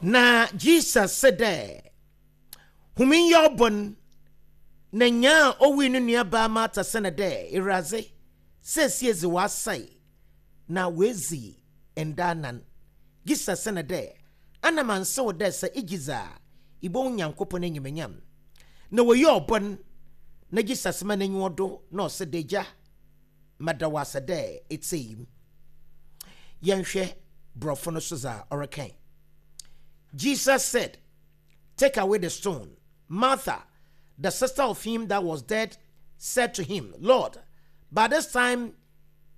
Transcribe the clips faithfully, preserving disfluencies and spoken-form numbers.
Na Jesus se dɛ, Hom nyɛ ɔbɔn. Na nyaa a owui no nuabaa Martha se no dɛ, Ewuradze, seesie dze ɔasɛe, na oedzi nda anan. Jesus se no dɛ, Ana mannse wo dɛ sɛ igye dzi a, ibohu Nyankopɔn enyimnyam? Na woyi ɔbɔn, na Jesus ma n'enyiwa do na ɔse dɛ, Egya, meda wo ase dɛ etsei m'. Yɛnhwɛ borɔfo no so dza ɔreka. Jesus said, Take away the stone. Martha, the sister of him that was dead, said to him, Lord, by this time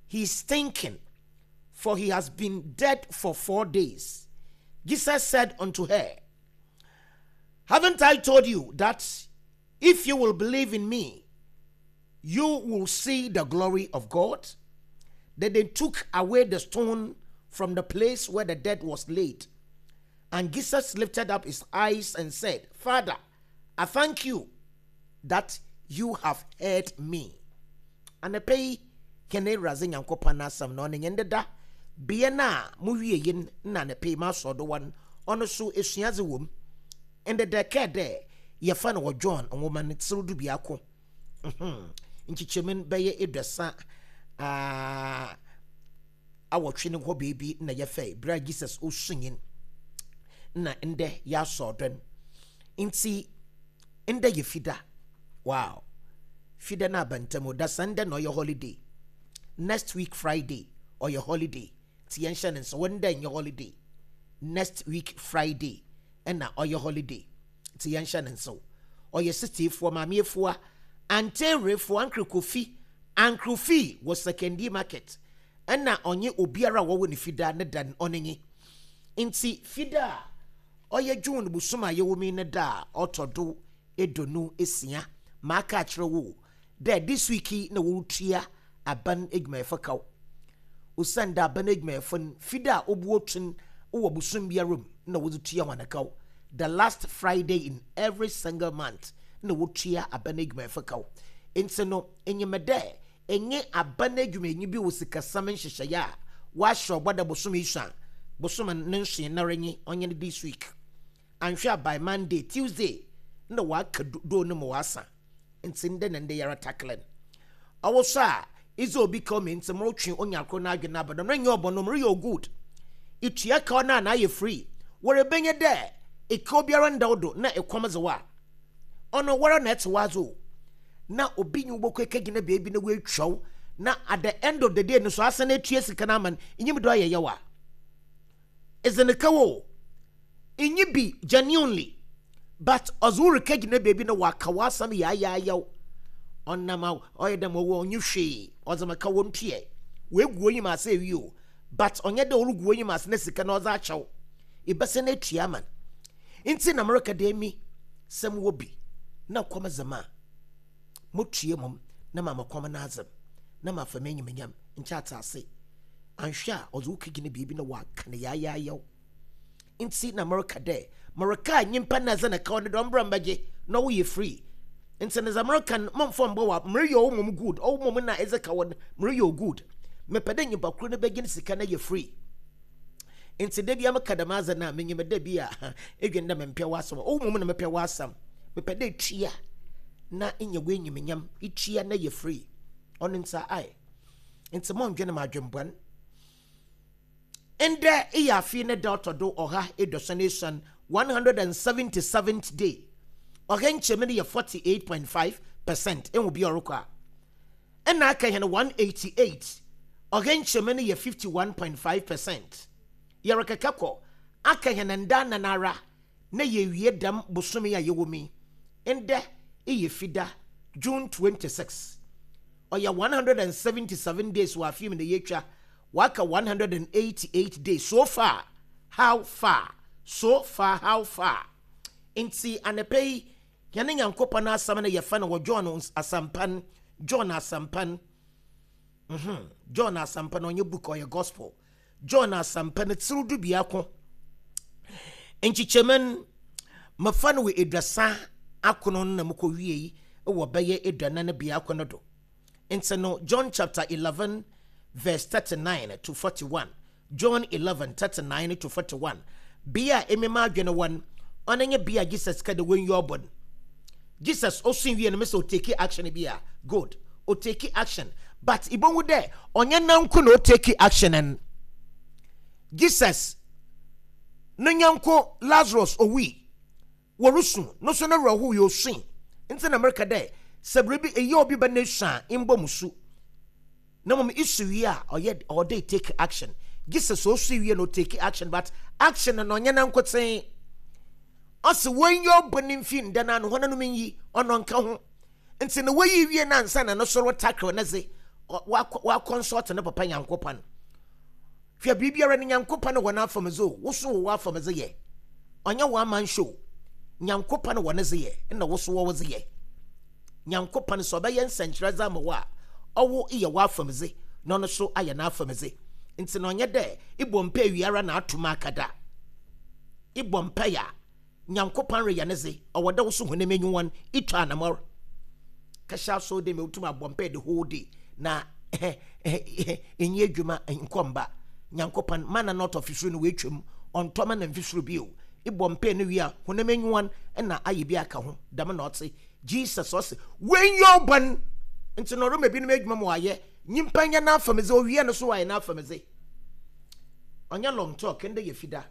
he's stinking, for he has been dead for four days. Jesus said unto her, Haven't I told you that if you will believe in me, you will see the glory of God? Then they took away the stone from the place where the dead was laid. And Jesus lifted up his eyes and said, Father, I thank you that you have heard me. Anɔpa yi, hɛn Ewuradze Nyankopɔn n'asɛm na ɔno nye ndeda bea no a mowie yin na anɔpa yi masɔ do wɔ ɔno so esuadze wɔ mu. Ndeda kɛɛ dɛ yɛfa no wɔ John nwoma no tsir du biako. Nkyekyɛmu bɛyɛ eduasa awɔtwe no hɔ beebi na yɛfɛ bere a Jesus osu nyin na ndɛ yɛasɔ do no. Nti ndɛ yɛ fida. Wow. Fida na abantam da Sunday na ɔyɛ holiday. Next week Friday ɔyɛ holiday. Nti yɛnhyɛ ne nso wɔn ndɛ nyɛ holiday. Next week Friday ɛna ɔyɛ holiday. Nti yɛnhyɛ ne nso. Ɔyɛ sitiefoɔ maameefoɔ anteerefoɔ Uncle Kofi Uncle Fi wɔ Sekondi market ɛna ɔnye obiara a wɔwɔ ne fida ne da ɔne nye. Nti fida a ɔyɛ June bosom a yɛwɔ mu ne da a ɔtɔ do edonu esia maaka akyerɛ wo dɛ this week yi na wɔretua aban adwumayɛfo kaw osiane dɛ aban adwumayɛfo no fida a obu otun wɔ bosom biara mu na wɔdze tua wɔn kaw the last Friday in every single month na wɔtua aban adwumayɛfo kaw nti no enyim dɛ enye aban adwumayɛnyi bi wɔ sikasɛm nhyehyɛeɛ a wɔahyɛ ɔbɔ dɛ bosom yi so a bosom ne nsoe nara nye ɔnyɛ no this week anhwɛ a by Monday Tuesday na waka do no ma wasa nti ndɛ na ndɛ yɛrɛ tackle no ɔwɔ so a idze obi ka ɔmo nti morotwe onya koro n'adwene aba dɔm nyɛ ɔbɔ no moreyɛ o good itua kaw no a na ayɛ free wɔrebɛnyɛ dɛ ekaw biara nda wo do na ekɔm dze wo a ɔno wɔra na ɛte w'adze o na obi nyi wo bɔkɔ ekegyina beebi na woatwa wo na at the end of the day no so asan atua sika no ama no enyim dɛ ɔyɛ yaw a ɛdze ne kaw o enyi bi genuinely but ɔdze wo rekegyina beebi na waka w'asɛm yaayayaw ɔnam a ɔyɛ dɛm ɔwɔ ɔnye hwee ɔdze me ka wɔn tuɛ woegu onyim ase ewie o but ɔnyɛ dɛ ɔregu onyim ase na sika na ɔdze akyɛw ebɛsɛ na etua ama no nti na mereka dɛ mi sɛ mowɔ bi na kɔm dze ma motua mom na ma mekɔm no adze na mafa m'enyimnyam nkyɛ ate ase anhwɛ a ɔdze wo kegyina biribi na waka no yaayayaw nti na mereka dɛ mereka nyimpa na ɛdze ne kaw no dɛ ɔmbra mbɛgye na ɔwoyɛ free nti ne dza mereka no momfa mbɔ wa mereyɛ ɔwo mom good ɔwo mom na ɛdze ka wɔ no mereyɛ o good mepɛ dɛ nyimpa koro no bɛgye ne sika no yɛ free nti da bia meka dɛm adze no a menyim dɛ bi a edwen dɛ mempɛ w'asɛm ɔwo mom na mepɛ w'asɛm mepɛ dɛ tua na nya w'enyimnyam itua na yɛ free ɔno nti ae nti mɔndwene ma adwembɔn ndɛ eyɛ afei ne da ɔtɔ do ɔha eduosuon esuon one hundred and seventy seventh day ɔha nkyɛmu no yɛ forty eight point five percent ehu bi ɔrekɔ a ɛna aka yɛn one eighty eight ɔha nkyɛmu no yɛ fifty one point five percent yɛrekeka kɔ aka yɛn nda nanara na yɛwie dɛm bosome a yɛwɔ mu yi ndɛ eyɛ fida June twenty six ɔyɛ one hundred and seventy seven days wɔ afi mu na yɛtwa waka one hundred and eighty eight days so far how far so far how far nti anapa yi yɛne nyankopɔn asɛm no yɛfa no wɔ John asampa John asampa mhm John asampa no ɔnyɛ book ɔyɛ gospel John asampa no tiri du biako nkyekyɛmu no mafa no wɔ eduasa akono no na mokɔ wie yi wɔ bɛyɛ eduanan biako no do nti no John chapter eleven verse thirty-nine to forty-one John eleven thirty-nine to forty-one Bea a emi m'adwen wɔ no, ɔno nye bea a Jesus ka dɛ wonyi ɔbɔ no. Jesus osui wie no, mese otake action bi a, good, otake action. But ibohu dɛ ɔnnyɛ nanko na otake action no. Jesus no nyɛnko Lazarus owui, worusu, no so no werɛ howee, osui. Ntsi na mereka dɛ, sɛ biribi eyɛ obi ba n'esu a, mbɔ mu su. Na mmom isu wie a, ɔyɛ ɔwɔ dɛ take action. Jesus osui wie no take action, but action no na ɔnyɛ nankotsee. Ɔse wonyi ɔbɔ ne mfi nda no ano, hɔn nyi, ɔno nka ho. Nti na woyi wie na ansa na no soro tackle ne dze, wakɔnsɔlt ne papa Nyankopɔn. Hwɛ biribiara ne Nyankopɔn wɔ n'afam dze o, wo so wɔ w'afam dze yɛ. Ɔnyɛ one man show. Nyankopɔn wɔ ne dze yɛ, na wo so wɔ wo dze yɛ. Nyankopɔn sɛ ɔbɛyɛ nsɛnkyerɛdze ama wo a, ɔwo yɛ w'afam dze, na ɔno so ayɛ n'afam dze. Nti na ɔnyɛ dɛ ibɔ mpae wiara na ato mu akada. Ibɔ mpae a, Nyankopɔn reyɛ ne dze, ɔwɔ dɛ wo so honam enyiwan itwa anamɔr. Kɛhyɛ aso de me wotum abɔ mpae the whole day na ɛnyɛ adwuma nkɔmba. Nyankopɔn mana na ɔtɔ fisuro no woetwam, ɔntɔ mana mfisuro bio. Ibɔ mpae no wie a, honam enyiwan na ayɛ bi aka ho. Dɛm na ɔtse. Jesus ɔse, wɔnyɛ ɔbɔn. Nti na ɔrema binom adwuma ma wɔayɛ. Nyimpa nyɛ n'afam dze, owie no so wɔayɛ n'afam dze. Ɔnyɛ long talk, ndɛ yɛ fida.